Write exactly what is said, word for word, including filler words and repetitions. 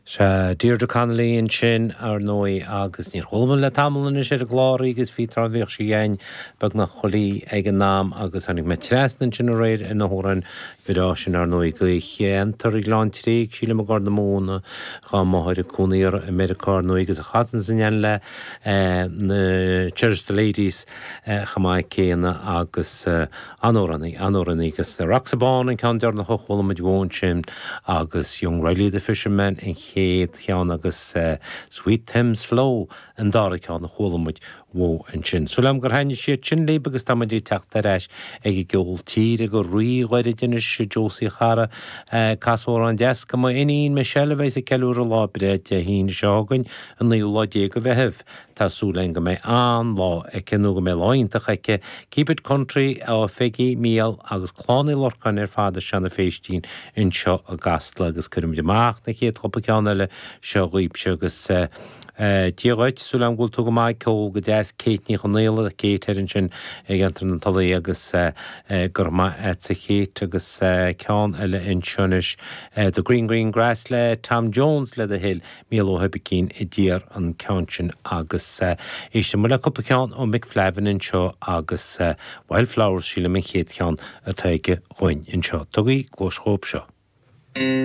Sea, Deirdre Connolly ansin ar ndóigh agus níor chuala le tamall anois ar an gclár agus bhí tráth bhíodh sí againn beagnach chuile oíche ag an am agus tháinig mé trasna ansin aréir ar na hamhráin bhreá sin ar ndóigh go cheantar Ghleann Tréig sílim i gCorr na Móna dhá máthair ag cónaí i Meiriceá ar ndóigh agus a chasann san le na Cherish the Ladies chomh maith céanna agus an-amhránaí an-amhránaí agus Rocks Bán an ceann deireanach a chuala muid uaithi sin agus Young Riley the Fisherman an chéad cheann agus uh, Sweet Thames Flow an dara ceann a chuala muid uaithi ansin. Súil agam gur thaitnigh siad sin libh agus tá muid ag teacht ar ais ag an gceol tíre go ríghairid anois Josie chara cas amhrán deas do m'iníon Michelle a bheas ag ceiliúradh lá breithe Dé hAoine seo chugainn an naoú lá déag de Mheitheamh. Tá súil go mbeidh an-lá aici nó go mbeidh lá iontach aici, Keep it country ó Pheigí Míal agus Clann Uí Lorcáin ar fad i Seanadh Féistín anseo i gCasla agus cuirimid amach na chéad chúpla ceann eile seo dhaoibhse agus uh, Dia dhuit súil agam go bhfuil tú go maith ceol go deas Kate Ní Chonaola Kate ar ansin ag ceantar na Tulaí agus gur maith sa Kate agus ceann eile anseo anois The Green Green Grass le Tom Jones le do thoil Mícheál Ó hOibicín a d'iarr an ceann sin agus éistfidh muid le cúpla ceann ó Mick Flavin anseo agus Wildflowers sílim an chéad cheann atá aige dhúinn anseo. Tugaigí cluas dhóibh seo.